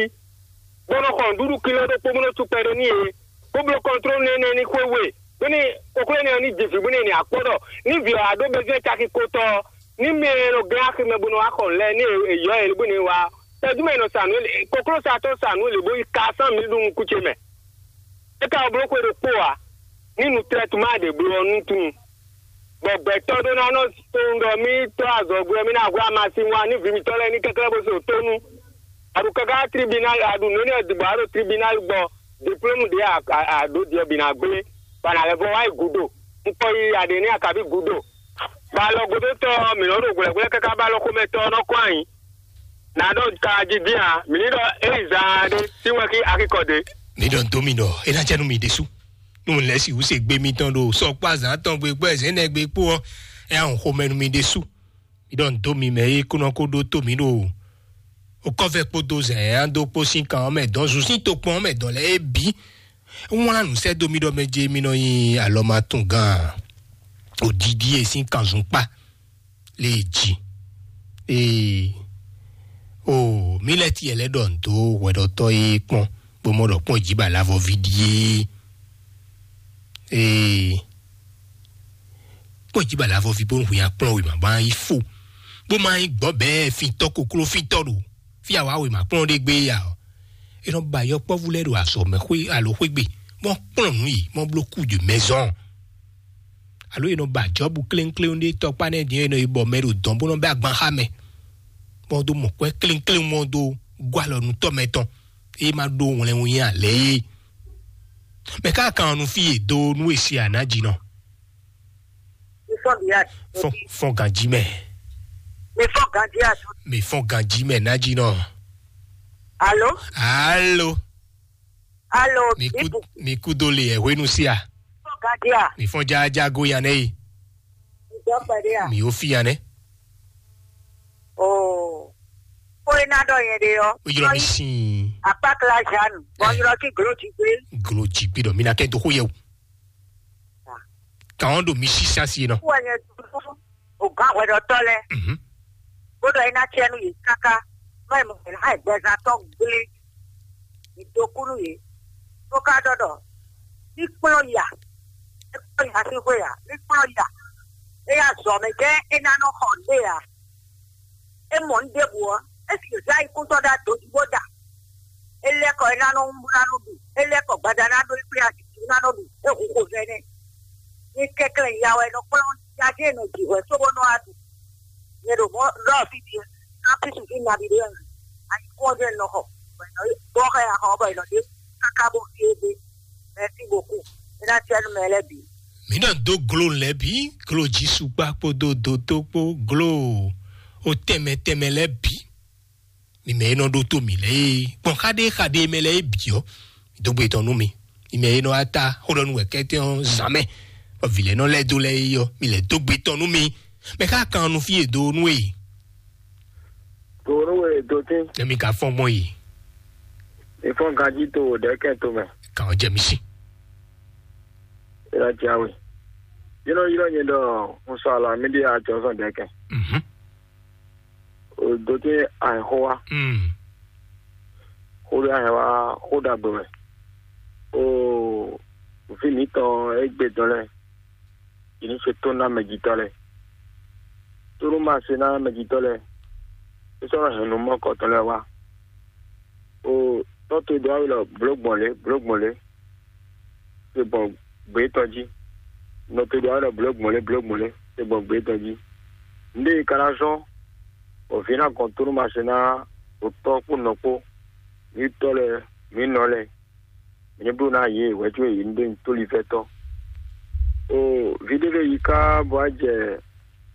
bó nɔ́ xɔ nǔɖuɖu kiló ɖokpó bó nɔ́ sú kpɛɖé n'i é, bó bló kɔntlónu énɛ́ ní xwé we, bónú kokló énɛ́ ɔ́ ní ji vǐ bónú è nǐ akpɔ́ ɖɔ ní vǐ ɔ́ wá ɖó bezwɛ́ caki kotɔ́ ɔ́, ní mɛ e nɔ gɛ́n aximɛ bó nɔ wá xɔ nǔ lɛ́ɛ ní è yɔ́ ɛ bónú è wá ɔ́. Tɛdúmɛ è nɔ sa nǔ kokló sa tɔn sa nǔ lě bó yi ka sán mǐ ɖu nukún ce mɛ. É ka wá bló xwe ɖokpó ǎ, ní nǔtlɛ́tuma ɖě bló ɔ́ nú tunwun. Bɔ gbɛtɔ́ ɖó ná nɔ tunwun ɖɔ mì tɔ́ azɔ̌gbé ɔ́, mì ná hwlá amasin wá ní vǐ mǐtɔn lɛ́ɛ ní kɛnklɛ́n bó se wǒ tónú. A ɖo káká tribunal, a ɖo nǔ énɛ́ ɔ́ ɖibɔ a ɖo tribunal gbɔ, diplôme ɖě a, a, a ɖǒ ɖiɛ bǐ ná gblé, bɔ a nǎ lɛ́ vɔ wá yi gǔdo. Un kɔ yi aɖě ní akaví gǔdo. Bɔ alɔgódótɔ́ ɔ́, mǐ nɔ́ ɖo hwlɛ̌hwlɛ́ káká bɔ alɔxomɛtɔ́ ɔ́ nɔ́ kɔn ayǐ. Nǎ ɖɔ ka jí dín ǎ, mǐ ní ɖɔ é yi zaan ɖé sín wɛ́nkí akíkɔ ɖě. Mi ɖɔ dó mi ɖɔ é ná jɛ nú mi ɖésú. Nú lɛ̌ sixú se gbé mitɔn ɖo sɔkpó azǎn tɔn gbe kpó ɛzɛ̌nɛ gbe kpó ɔ́, é ná hun xomɛ nú mi ɖésú. Mi ɖɔ dó mi mɛ é kó nɔ kó ɖó tó mi ɖo okɔ́vɛ kpódó zɛ̌n ɛ dó kpó sín kan ɔ́ mɛ dɔn, zun sín tokpɔn ɔ́ mɛ dɔn lɛ́ɛ é bǐ. Wlán nǔ sɛ́ dó mi ɖɔ mɛ je mi nɔ nyi alɔmatungán òdídí e sín kanzun kpá lě e jí. Ee, o, mi lɛ́ tiɛ lɛ́ ɖɔ nǔ dó hwɛɖɔtɔ́ e kpɔ́n, bó mɔ ɖɔ kpɔ́n jí ba lavɔví ɖíe. Ee, kpɔ́n jí ba lavɔví bó hu nyi akplɔ́n wěma bó ná yi fó, bó ma nyí gbɔ̌ bɛɛ fintɔ́ kokló fintɔ́ ɖo fí awa wěma kplɔ́n ɖé gbé ya ɔ́. È nɔ ba yɔkpɔ́vú lɛ́ɛ ɖo azɔ̌ mɛ xwé alo xwégbe, bó kplɔ́n nǔ yi, bó bló kú de mɛzɔn. Alo è nɔ ba Jɔbu kléŋkléŋ ɖé tɔkpá nɛ́ din, è nɔ yi bɔ mɛ ɖo dɔn bó nɔ bɛ́ agban xá mɛ, bó dó mɔ kwɛ́ kléŋkléŋ mɔ dó gɔ́ alɔ nú tɔ́ mɛ tɔn, é ma ɖó wlɛnwun nyi alɛ é. Mɛ ká kan ɔ́ nú fí e dó nú e se anǎjínɔ. Mi fɔ ganji. Fɔ, fɔ ganji mɛ. Mi fɔ ganji ato. Mi fɔ ganji mɛ nájínɔ. Alo. Alo. Alo. Mi ku, mi ku do le ɛ hwenu sia. Fɔ ganji a. Mi fɔ jaja go yan nɛ yi. Mi dɔ pɛɖe a. Mi o fi yan nɛ. Oo. Ko e ná ɖɔ yẹn ɖe ɔ́. O yɔrɔ mi sin. Akpákla Jeanne, bɔn yɔrɔ kí glo jí gbé. Glo jí gbé dɔ mi na kɛ do xó yɛ o. Kan ɔ́ ɖo mi sísá sí e nɔ. Wɔ nyɛ dúró o gán hwɛɖɔtɔ́ lɛ́ɛ. Mhm. Bó ɖɔ é ná tiɛ nú yě káká, má yi mɔ yě ná yi gbɛzán tɔn gblé. Yě dó kú nú yě. Tó ká ɖɔ ɖɔ ní kplɔ́n ya. É kplɔ́n ya sín xwé ya. Ní kplɔ́n ya. É ya zɔ mɛ jɛ́n é ná nɔ xɔ nǔ ɖé ya. É mɔ nǔ ɖěbǔ ɔ́, é sì zá yi kúntɔ́ ɖó ado jí bó da. É lɛ́ kɔ é ná nɔ wú ná nɔ ɖu, é lɛ́ kɔ gbada ná ɖó é kplé azǐzí ná nɔ ɖu, é hu xo vɛ nɛ́. Ní kɛnklɛ́n ya wɛ nɔ kplɔ́n yadé e nɔ ji hwɛ cóbó nɔ wá ɖu. Nyɛ ɖo mɔ̌ ɖɔ fí din, ná fí sixú nabi ɖé wɛ. Ayǐkún ɔ́ jɛ́n nɔ xɔ, bɔ è nɔ bɔ xɛ axɔ ɔ́ bɔ è nɔ ɖe káká bó fí é gbé. Merci beaucoup. É ná tiɛ nú mɛ lɛ́ɛ bǐ. Mǐ nɔ dó glo lɛ́ɛ bǐ, glo Jisukpa kpódó dotó kpó glo o tɛnmɛ tɛnmɛ lɛ́ɛ bǐ. Mi mɛ e nɔ ɖótó mǐ lɛ́ɛ é, gbɔn xaɖéxaɖé mɛ lɛ́ɛ é bǐ ɔ́, mi dó gbe tɔn nú mi. Mi mɛ e nɔ wá ta xó ɖɔ nú wɛ kɛ́tɛ́ ɔ́ zǎn mɛ, bɔ vǐ lɛ́ɛ nɔ lɛ́ dó lɛ́ɛ é ɔ́, mi lɛ́ dó gbe tɔn nú mi. Mɛ xá kan nu fí e do nú e. Do nú e do tín. Emi ka fɔn gbɔn yi. Mi fɔn ganjí to wò ɖɛ̌kɛn to mɛ. Kan ɔ jɛ mi sí. Ila jawe. Yínɔ yínɔ nyɛ ɖɔ, un sɔ alɔ amídí ajɔzɔn ɖɛ̌kɛn. Mhm. O do tín ahɛxó wa. Mm. Xó ɖé ahɛn wa xó ɖagbe wɛ. O vǐ mǐtɔn égbé dɔn lɛ́ɛ, yě ní se tó ná mɛjitɔ́ lɛ́ɛ. Tónú ma se ná mɛjitɔ́ lɛ́ɛ, é sɔ́ nɔ hɛn nǔ mɔkɔtɔn lɛ́ɛ wá. O tɔ́ to dó awu lɔ blǒ gbɔn lě, blǒ gbɔn lě, se gbɔn gbě tɔn jí. Nɔ to dó awu lɔ blǒ gbɔn lě, blǒ gbɔn lě, se gbɔn gbě tɔn jí. Nǔɖé e ka ná zɔ́n bɔ vǐ ná gɔn tónú ma se ná o tɔ́ kpó nɔ kpó, mǐ tɔ́ lɛ́ɛ, mǐ nɔ lɛ́ɛ, mǐ ní bló ná yě hwɛ̌ có yě ní ɖe nyi tóliví tɔn. O vǐ ɖé lɛ́ɛ yi ká bɔ á jɛ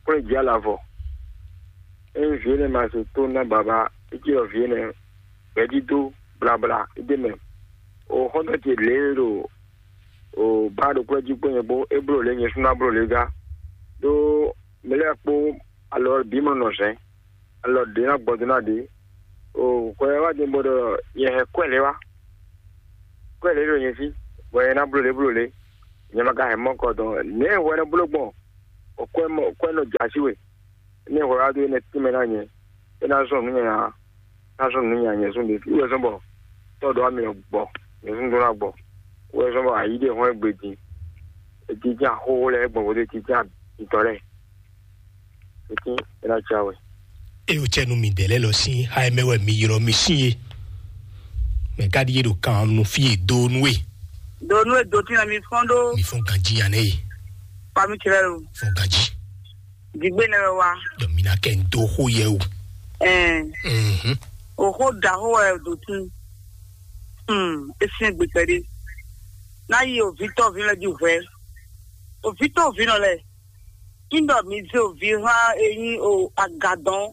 kplɔ́n jí alavɔ. Ényí vǐ énɛ́ ma se tó ná baba, é cí ɖɔ vǐ énɛ́ gbɛ̌dídó blabla é ɖ'é mɛ. O xɔ́ntɔn ce lě e ɖo o bá ɖo kplɔ́n jí kpó nyɛ kpó, é bló lě nyɛ sú ná bló lě gá. Ɖó mɛ lɛ́ɛ kpó alɔ bǐ mɔ nɔ zɛ̌n, alɔ ɖě ná gbɔ dó ná ɖě. O hwɛ wá din bɔ ɖɔ nyɛ hɛn kwɛ́ lě wá. Kwɛ́ lě ɖo nyɛ sí, bɔ nyɛ ná bló lě bló lě. Nyɛ ma ka hɛn mɔkɔ dɔn nɛ̌ hwɛ nɔ bló gbɔn? O kwɛ́ mɔ kwɛ́ nɔ jǎ sí we. Nɛ̌ hwɛ wá dó énɛ́ tínmɛ ná nyɛ, é ná zɔn nǔ nyanya, ná zɔn nǔ nyanya nyɛ zɔn ɖě. Wú wɛ zɔn bɔ tɔ́ ɖɔ wá mi nɔ gbɔ, nyɛ zɔn ɖó ná gbɔ. Wú wɛ zɔn bɔ ayǐ ɖe hɔn égbé din. Ejijɛ axóxó lɛ́ɛ gbɔn vodé jijɛ abitɔ lɛ́ɛ. Etín é ná jɛ awɛ. Eye wòtsɛ nú mi ɖe lɛ́ lɔ sín xá e mɛ wɛ mi ylɔ́ mi sín é. Mɛ ka ɖíe ɖo kan nu fí e dó nú e. Do nú e do tín mi fɔn ɖó. Mi fɔn ganjí ya nɛ e. Fami cɛ lɛ lo. Fɔn ganjí. Digbe nɛ wɛ wa. Yɔ mi na kɛ n dó xó yɛ o. Ɛn. Mhm. O xó da xó wɛ do tín. Hmm, e syɛ́n gbe kpɛɖé. Ná yi o vǐ tɔ́ vǐ lɛ jí hwɛ. O vǐ tɔ́ vǐ nɔ lɛ. Ńdɔ mi zé o vǐ hã e nyí o aga dɔn.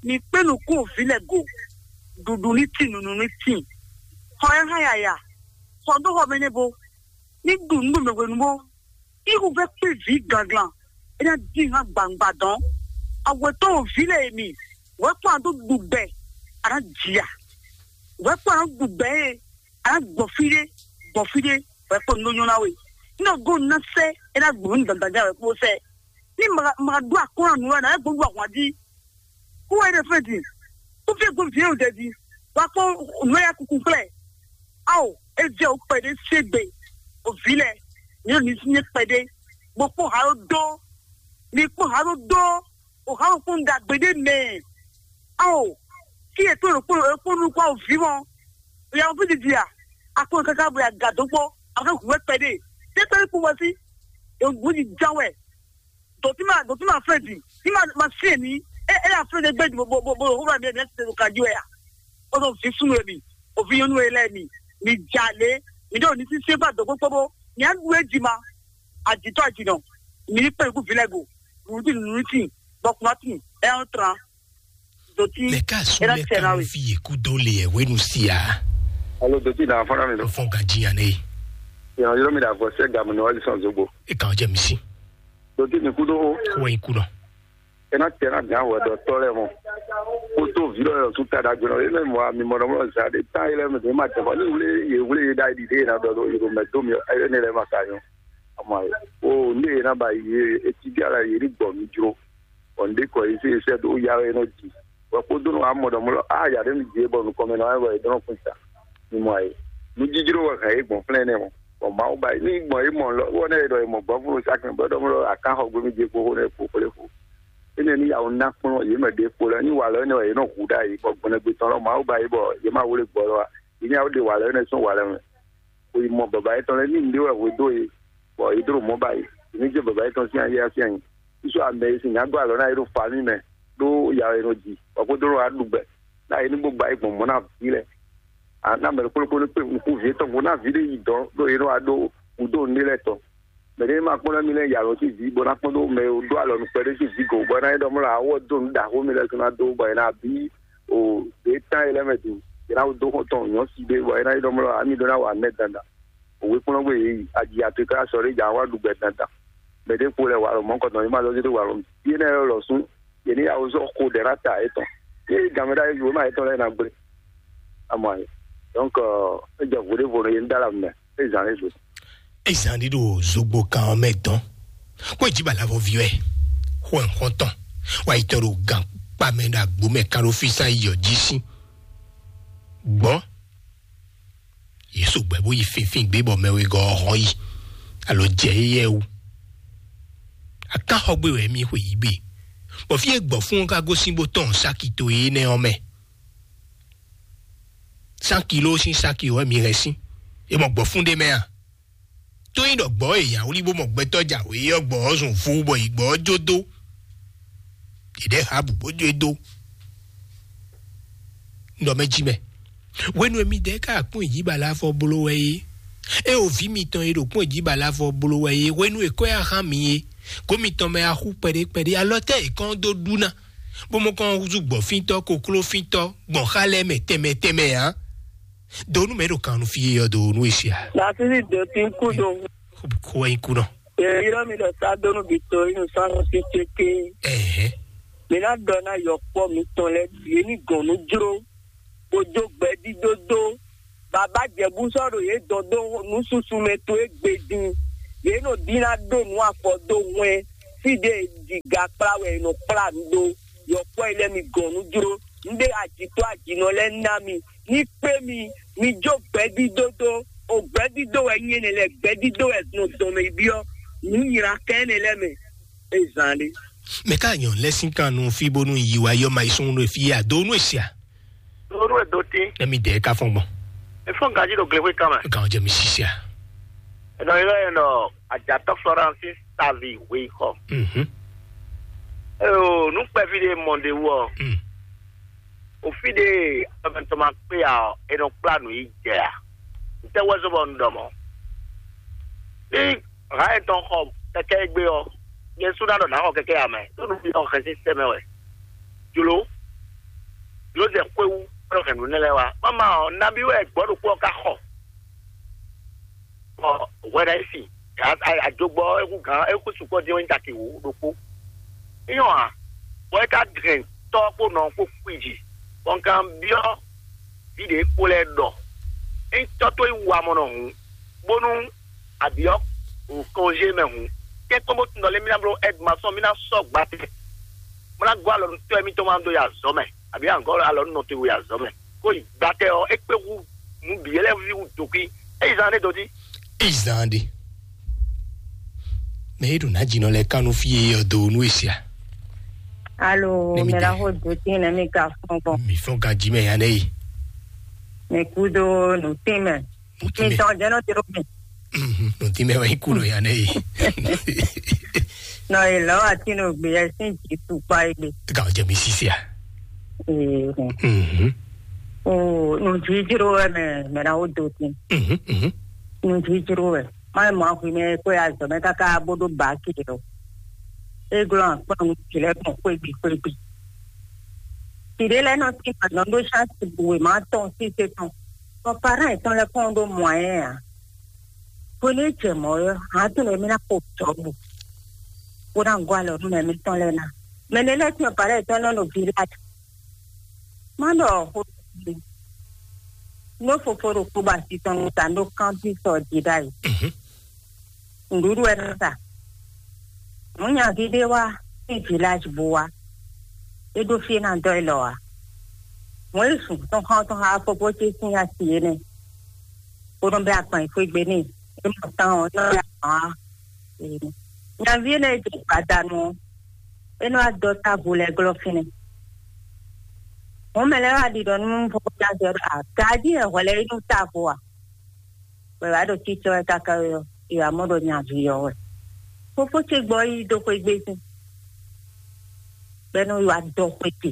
Mi kpé nukún o vǐ lɛ go. Ɖuɖu ní tín, nunu ní tín. Xɔ ɛ hã yaya. Xɔ dó xɔ mɛ nɛ bo. Ní ɖu nǔ ɖo mɛ hwenu bó. Ihu vɛ kpé vǐ ganglan. É ná dín hã gbangba dɔn. Awɛtɔ́ o vǐ lɛ e mi. Wɛ kpɔ́n a dó ɖu gbɛ. A ná jia. Wɛ kpɔ́n a dó ɖu gbɛ e. A ná gbɔ fí ɖé, gbɔ fí ɖé, wɛ kpɔ́n nú nyɔ́ ná we. Ní ɔ́ gɔ́n ná sɛ́, é ná gbǔ ní dandan wɛ kpó sɛ́. Ní ma ma ɖó akɔ́nɔ nǔ wɛ ná é gbɔn ɖó ahwan jí. Kú wɛ ɖe fɛ́ din. Kú fí gbɔn vǐ ɖo ɖɛ jí. Wa kpɔ́n nǔ ya kuku kplɛ. Ao, é jẹ́ o kpɛɖé ségbe. O vǐ lɛ, ní o ní sí nyé kpɛɖé. Gbɔ kpɔ́n ha ɖó dó. Mi kpɔ́n ha ɖó dó. O ha ɖó kpɔ́n ɖagbe ɖé mɛ. Ao, kí e tó ɖokpó ɖokpó nú kpɔ́n o vǐ mɔ. O ya wọn fí didi a? A kpɔ́n káká bo ya ga dó kpɔ́. A fẹ́ hu wɛ kpɛɖé. Tẹ́ kpɛɖé kpɔ́n wɛ sí. E ŋgǔ ní ján wɛ. Dǒtí ma dǒtí ma fɛn di. Tí ma ma sí èmi. É é afɛn ɖé gbé bo bo bo bo hó ba mi ɛ mi ɛ ti tɛ ɖo kají wɛ a? Ó sɔ vǐ súnnu e mi, òvǐ nyɔ́nú e lɛ́ɛ mi, mi jalě, mi ɖo ní sísé bá dǒ kpókpó bó, mi á ɖu é jí ma, àjǐtɔ́ àjǐnɔ, mi ní kpɛn kú vǐ lɛ́ɛ go, nǔɖuɖu nǔɖuɖu, bɔ kún wá tún, ɛ ɔ́ tran, dǒtí, Mɛ ka su ɛ ná mɛ tɛ ka ná nu we. Fi yě kú dó le yɛ wénu si a? Alo doti na fana mi do. Fɔn ka jiyan ne. Yan yɔrɔ mi da vɔ sɛ gamu nɔ wali sɔn zogbo. E kan jɛ mi si. Doti mi kú dó o. Kó wɛn kú nɔ. Ena tɛ na gan wɛ dɔ tɔ lɛ mɔ. Kó tó vi lɔ yɔ su ta da gbɛnɔ. Ele mɔ mi mɔ dɔ mɔ sa de ta ele mi de ma tɛ mɔ. Ni wule ye wule ye da di de na dɔ do yoro mɛ do mi ele ne lɛ ma ka yɔ. Ama ye. O ne ye na ba ye eti di ala ye ni gbɔ mi jro. Bɔ un ɖe kɔ yi sɛ sɛ ɖo ya wɛ nɔ ji. Bɔ kpódó nɔ amɔ ɖɔ mɔ lɔ a ya ɖe mi dzi bɔ nukɔn mɛ nɔ wɛ wɛ dɔn kun ta. Mi mɔ ayi. Nu jijlo wɛ hɛn ye gbɔn flɛn nɛ mɔ. Bɔ Mawu ba yi ni gbɔn ye mɔ lɔ wɔ ne ye ɖɔ ye mɔ gbɔn fún sa kɛn bɔ ɖɔ mɔ lɔ akan xɔ gbe mi dzi kpo xo ne kpo kple fo. Ene ni yawo na kplɔn ye mɛ ɖe kpo lɛ ni wa lɔ ne wɛ ye nɔ hu ɖa yi bɔ gbɔnɛgbe tɔn lɔ Mawu ba yi bɔ ye ma wle gbɔ lɔ wa. Ye ni yawo ɖe wa lɔ ne sɔn wa lɛ mɛ. Xwe mɔ baba yětɔn lɛ́ɛ ní nǔɖé wɛ hwe dó e, bɔ yě dó ɖo mɔ̌ ba e. Yě ní jɛ baba yětɔn sín ayé ɔ́ sín ayi. Sísɔ amɛ e sin nyǎ gɔ́ alɔ ná é ɖo fa mì mɛ, ɖó ya wɛ è nɔ ji, bɔ xwedó nɔ wá ɖu gbɛ, ná é ní bó ba é gbɔn mɔ̌ ná vǐ lɛ́ɛ. A ná mɛ ɖokpó ɖokpó ní kpé nukún vǐ étɔn gbo ná vǐ ɖé yi dɔ̌n, ɖó é nɔ wá ɖó wǔdó nǔɖé lɛ́ɛ tɔn. Mɛ ɖé ma kpɔ́n ná mi lɛ́ɛ yi alɔ sín vǐ, bó ná kpɔ́n ɖó mɛ e ɖó alɔ nukpɛ ɖé sín vǐ go, bɔ é ná é ɖɔ mɔ lɔ awɔ dó nǔ ɖaxó mi lɛ́ɛ sɔ́ ná dó, bɔ è nǎ bí O ɖě tán e lɛ́ɛ mɛ din, yě ná dó xɔ́ntɔn nyɔ̌ si ɖé bɔ é ná yi ɖɔ mlɔ ami ɖó ná wa mɛ dandan. Òwe kplɔ́n gbé yě yi aji atoe ká sɔ ɖé jà wá ɖu gbɛ dandan. Mɛ ɖé kpo lɛ wa lɔ mɔ̌ kɔtɔn yě ma zɔ́ dó wa lɔ mɛ. Yé nɛ lɔ sún yě ní yàwó zɔ xo ɖɛ ná ta yětɔn. Yé gamɛ ɖá yé ma yětɔn lɛ́ɛ ná gblé. Amɔ ayé. Donc, é jɛ vodé vo yé ní dá la mɛ. É zan é zo. Ezan ɖi ɖo zogbo kan ɔ́ mɛ dɔn. Kó ìjìbá lavɔ vi wɛ. Xɔ nxɔtɔn. Wa yi tɔ ɖo gan kpa mɛ ɖo agbo mɛ kan ɖo fí sán yi ɔ jí sí. Gbɔ. Yě so gbɛ bó yi fínfín gbé bɔ mɛ wegɔ́ ɔ́ hɔn yi. Alo jɛ éyɛ́ wú. Akán xɔ gbé wɛ mí xwe yí gbe. Bɔ fí e gbɔ fún ɔ́ ka gosín bó tɔn sáki to énɛ́ ɔ́ mɛ. Cent kilo sín sáki wɛ mí hɛn sín. É mɔ gbɔ fún ɖé mɛ a? Tó nyí ɖɔ gbɔ e yǎwlí bó mɔ gbɛtɔ́ jǎwe ɔ́ gbɔ ɔ́ zun vo bɔ yi gbɔ ɔ́ jó dó. Ɖěɖɛ́ ha bǔ bó jó e dó. Ɖɔ mɛ jí mɛ. Hwenu e midɛɛ ka kpɔ́n ìjǐbala fɔ bló wɛ é. É o vǐ mitɔn e ɖo kpɔ́n ìjǐbala fɔ bló wɛ é. Hwenu e kɔ́ yá hán mi é. Kó mitɔn mɛ axú kpɛɖé kpɛɖé alɔ tɛ è kɔn dó ɖu ná. Bó mɔ kɔn húzú gbɔ̌fíntɔ́, koklófíntɔ́, gbɔn xá lɛ́ɛ mɛ tɛnmɛ tɛnmɛ ǎ. Donu mɛ ɖo kan nu fí ɔ́ donu e sia. Lasisi do tin kudo. Ko wɛ nyi kunɔ. Yeyɔrɔ mi ɖɔ sa donu bi to inu san si tete. Ɛhɛn. Mi na dɔ na yɔkpɔ mi tɔn lɛ ye ni gɔn nu jro. Ko jo gbɛ di dodo. Baba jɛbu sɔ ɖo ye dɔn do nu susu mɛ to e gbe din. Ye no di na do nu afɔ do hwɛn. Fi de di ga kpla wɛ no kpla nu do. Yɔkpɔ yi lɛ mi gɔn nu jro. Nde ajitɔ ajinɔ lɛ na mi. Ní kpé mi, mi jó gbɛ́dídó dó, o gbɛ́dídó wɛ nyí énɛ́ lɛ́ɛ, gbɛ́dídó wɛ nɔ dɔn mɛ yi byɔ́, nǔ nylá kɛ́ énɛ́ lɛ́ɛ mɛ, é zán ɖé. Mɛ ká nyɔ lɛ́ sín kan nú fí bónú yi wá yɔ ma yi sún nú fí yá dó nú èsì à. Lóru ẹ̀ dó tí, Ẹ mi dẹ̀ ká fɔn gbɔn. Ẹ fɔn gají ɖo glexwé kan mɛ. Gàn jẹ mi sisi à. Ẹ nɔ ylɔ́ ẹ nɔ Ajatɔ Florence Savi Weyixɔ. Mhm. Eo, nú kpɛví ɖé mɔ ɖé wú ɔ, Mm. Ofi ɖe amɛtɔn ma kpé ya ɔ, è nɔ kplá nǔ yi jɛ a? Ntɛ́ wɛ zɔ́ bɔ un ɖɔ mɔ̌? Ní hǎn etɔn xɔ kɛkɛ́ égbé ɔ́, nyɛ sú ná ɖɔ nǎ xɔ kɛkɛ́ ya mɛ, ɖó nǔ bǐ nɔ hɛn sín sɛ́ mɛ wɛ. Jlǒ, jlǒ zɛ xwé wú, bó nɔ hɛn nǔ nɛ́ lɛ́ɛ wá. Mama ɔ́, nabí wɛ gbɔ̌ ɖokpó ɔ́ ka xɔ? Bɔ hwɛ ɖo ayǐ sin, ajogbɔ ɔ́, é hú gǎn, é hú sukpɔ́ dín ɔ́ nyí caki wǒ ɖokpó. É nyɔ́ ǎ, bɔ é ka hɛn tɔ́ kpó nɔ kpó kwíji, bɔ un ka byɔ́ vǐ ɖě kpó lɛ́ɛ ɖɔ: "Ényí tɔ́ towe wú amɔ̌ nɔ hǔn, bónú a byɔ́ kɔnzé mɛ hǔn, kɛ́nkɔ́n bó tunɔ lé mí ná bló ɛ́dmasɔn, mí ná sɔ́ gbatɛ, bó ná gɔ́ alɔ nú tɔ́ émítɔn ma dó yi azɔ̌ mɛ, abǐ a gɔ́ alɔ nú nɔ towe yi azɔ̌ mɛ." Kó yi gbatɛ ɔ́, é kpé hú nǔ bǐ lɛ́ɛ ví hú dǒkí. É yi zán ɖé dó jí. É yi zán ɖé. Mɛ é ɖo nǎ jǐnɔ lɛ́ɛ ká nú fí e ɔ do nú e sia. Alo, Nɛ mi mɛ ɖe. La xo do tín nɛ mi ka fɔn gbɔn. Mi fɔn ganjí mɛ ya nɛ yi. Mi kú dó nǔ tín mɛ. Nǔ tín mɛ. Mi tɔn jɛ nɔ tiro mi. Mhm, nǔ tín mɛ wɛ yi kú nɔ ya nɛ yi. Nɔ yi lɔ ati nɔ gbé yɛ sín jì tukpa yi gbé. Gà jẹ mi sisi a. Ee. Mhm. O, nǔ jíjíró wɛ mɛ, mɛ na wo do tín. Mhm, mhm. Nǔ jíjíró wɛ. Má mɔ axwi mɛ kó ya zɔ mɛ káká bó ɖó bǎki ɖo. É glɔ́ akpɔ́n nú jǐ lɛ́ɛ gbɔn xwégbí xwégbí. Jǐ ɖé lɛ́ɛ nɔ tín gbadán ɖó ṣáàtì bǔ wěma tɔn síse tɔn. Bɔ parán yětɔn lɛ́ɛ kɔn ɖó mɔ̌yɛ́ ǎ. Hwenu e jɛ mɔ̌ ɔ́, hǎn tɔn lɛ́ɛ mí ná xo jɔ̌bu, bó ná gɔ́ alɔ nú mɛ mǐtɔn lɛ́ɛ ná. Mɛ nɛ́ lɛ́ɛ tɔn parán yětɔn nɔ ɖo Gileadi. Má ɖɔ xó nú fofó ɖokpó ba asi tɔn nú ta ɖó kántín sɔ jí ɖ'ayǐ. Mhm. Nǔɖuɖu wɛ nɔ sa. Mɔ̌ nyaví ɖé wá sín Gileadi bó wá. É ɖó fí é ná dɔ́ élɔ́ ǎ. Mɔ̌ é zun tɔn xá tɔn xá fofó ce sín asi énɛ́, bó nɔ bɛ́ agban yi xwé gbe n'i. É mɔ tán ɔ́, é nɔ bɛ́ agban wá. Nyaví énɛ́ e jɛ gbadanu ɔ́, é nɔ wá dɔ́ távo lɛ́ɛ glɔ́ fínɛ́. Mɔ̌ mɛ lɛ́ɛ wá ɖiɖɔ nú fofó ce asi ɔ́ ɖɔ: "Agají wɛ hwɛ lɛ́ɛ yi nú távo a?" Bɔ è wǎ ɖo cícɔ́ wɛ káká ɔ́, è wǎ mɔ ɖɔ nyaví ɔ́ wɛ. Fofó ce gbɔ yi dó xwé gbé sín, bɔ é nɔ yi wá dɔ xwé te.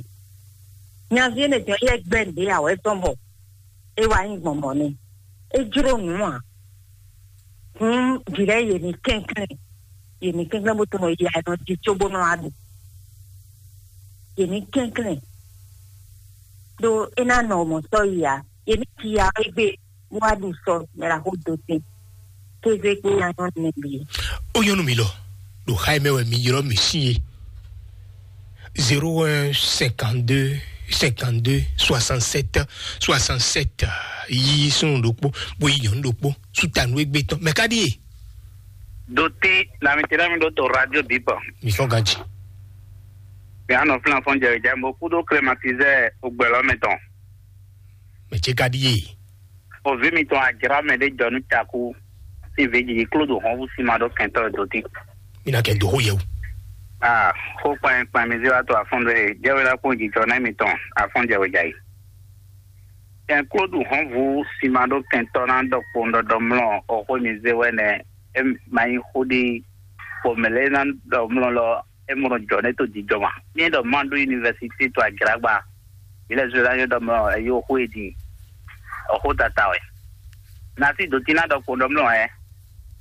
Nyaví énɛ́ tɔn yɛ gbɛ́ nǔɖé awɛ tɔn bɔ é wá nyí gbɔn mɔ̌ n'i. É jló nǔ ǎ. Hǔn vǐ lɛ́ɛ yě ní kɛnklɛ́n, yě ní kɛnklɛ́n bó tunwun yě ǎ, è nɔ jí cóbó nɔ wá ɖu. Yě ní kɛnklɛ́n. ɖó é ná nɔ mɔ̌ sɔ́ yi ǎ. Yě ní ji ya égbé bó wá ɖu sɔ mɛ la xó dó tɛn. Kéze kpó nya nyɔ́ nɛ bǐ. Ó nyɔ́ nú mi lɔ, ɖo xá e mɛ wɛ mi ylɔ́ mì sín é. Zéro un cinquante-deux cinquante-deux soixante-sept soixante-sept. Yí súnnu ɖokpó, bó yí nyɔ̌nu ɖokpó, sútanu égbé tɔn. Mɛ ká ɖíe? Dotí, na mi tɛ́ mi ɖó to radio bǐ kpɔ. Mi fɔ́n ganji. Mi anɔ fúnafɔn jɛ ìjà mo kúdó klématizɛ ogbɛlɔ mɛ tɔn. Mɛ ce ká ɖíe? Òví mitɔn ajrá mɛ ɖé jɔ nú cakú sín vǐ jiji kló ɖo hɔnvú sín ma ɖó kɛntɔ́ dotí. Mi ná kɛ dó xó yɛ o. Ah, xó kpanyɛkpan mi zé wá to afɔn ɖé jɛwé ná kpɔn jijɔ nɛ mitɔn afɔn jɛ wɛ jai. Kɛn kló ɖu hɔnvú sín ma ɖó kɛntɔ́ ná ɖɔ kpowun ɖɔɖɔ mlɔ, ɔxó mi zé wɛ nɛ. E ma nyí xó ɖé, bɔ mɛ lɛ́ɛ ná ɖɔ mlɔ lɔ, e mɔ jɔ nɛ to jijɔ ma. Mi ɖɔ ma ɖo université to ajragba. Ilé zwe la yɔ ɖɔ mlɔ, e yɔ xó e din. Ɔxó tata wɛ. Na sí dotí ná ɖɔ kpowun ɖɔ mlɔ ɛ.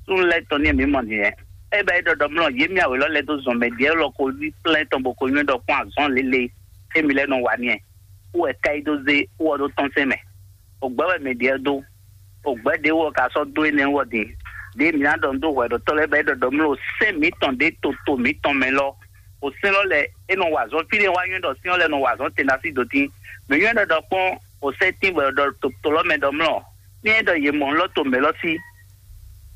Súnnu lɛ́ɛ tɔn ní mi mɔ din ɛ. E bɛ e ɖɔ ɖɔ mlɔ, yé mi awě lɔ lɛ́ dó zɔn mɛ ɖiɛ lɔ ko ví plɛ́ tɔn bɔ ko nyɔ́ ɖɔ kpɔn azɔn lélẹ̀. Émi lɛ́ nɔ wa ní ɛ. Wú wɛ ká yi dó zé wú ɔ ɖó tɔn sɛn mɛ. Ògbɛ́ wɛ mɛ ɖiɛ dó. Ògbɛ́ ɖě wú ɔ ka sɔ́ dó énɛ́ wú ɔ din. Ɖě mǐ ná ɖɔ nú dó hwɛɖɔtɔ́ lɛ́ɛ bɔ é ɖɔ ɖɔ mló sɛ́n mǐtɔn ɖě toto mǐtɔn mɛ lɔ. Ò sɛ́n lɔ lɛ é nɔ wa azɔn fí ɖé wá nywɛ́ ɖɔ sɛ́n ɔ́ lɛ nɔ wa azɔn tɛn ɖo así dó tín. Mǐ nywɛ́ ɖɔ ɖɔ kpɔ́n ò sɛ́n tín bɔ è ɖɔ to lɔ mɛ ɖɔ mlɔ. Ní é ɖɔ yě mɔ lɔ to mɛ lɔ sí.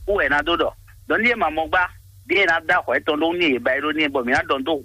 Wú wɛ ná dó ɖɔ. Ɖɔ ní é ma mɔ gbá. Ɖě é ná dó ahwɛ tɔn ɖó ní yě ba é ɖó ní é bɔ mǐ ná ɖɔ nú dó hwɛ